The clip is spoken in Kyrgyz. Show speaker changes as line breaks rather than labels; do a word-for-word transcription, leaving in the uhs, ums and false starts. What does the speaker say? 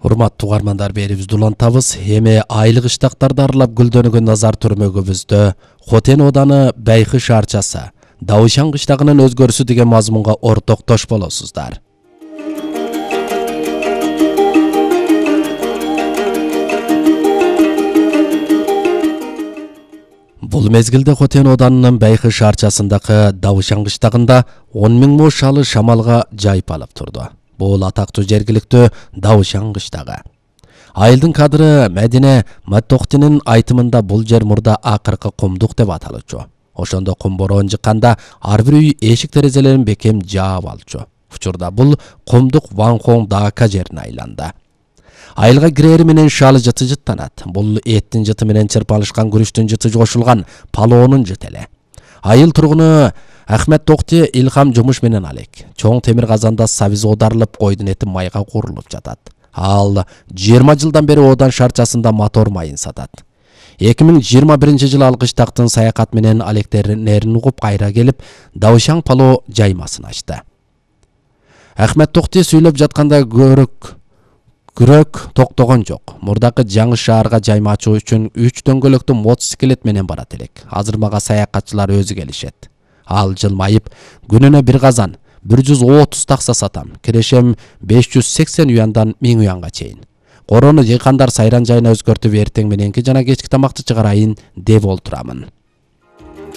Урматтуу угармандар, берибизди улантабыз. Эми айлык иштактарды аралап гүлдөнгөн назар түрмөгүбүздө Хотен ооданы Байкы шаарчасы Даушан кыштагынын өзгөрүшү деген мазмунга ортоктош болосуздар. Бул мезгилде Хотен оодарынын Байкы шаарчасындагы Даушан кыштагында он миң мош шалы шамалга жайып алып турду. Бул атактуу жергиликтүү Даушан кыштагы. Айылдын кадыры Медине Маттоктинин айтымында бул жер мурда акыркы кумдук деп аталчу. Ошондо кум бороон жыкканда ар бир үй эшик терезелерин бекем жаап алчу. Учурда бул кумдук Ванхон Дака жерине айланды. Айылга кирери менен шалы жыты жыттанат. Бул эттин жыты менен чырпалышкан күрүчтүн жыты кошулган палоонун жыты эле. Айыл тургуну Ахмет Токти илхам жумуш менен алек. Чоң темир казанда сабиз оодарылып, койдун эти майга куурулуп жатат. Ал жыйырма жылдан бери Одан шаарчасында мотор майын сатат. эки миң жыйырма биринчи жылы ал кыштактын саякат менен алектерин угуп кайра келип, Даушан пало жаймасын ачты. Ахмет Токти сүйлөп жатканда көрөк күрөк токтогон жок. Мурдакы жаңы шаарга жайма ачуу үчүн үч дөңгөлөктүү мотоциклет менен барат элек. Азыр мага саякатчылар өзү келишет. Ал жылмайып, күнүнө бир казан бир жүз отуз такса сатам. Кирешем беш жүз сексен уяндан миң уянга чейин. Корону жыйкандар сайран жайына өзгөртүп, эртең мененки жана кечки тамакты чыгарайын деп олтурамын.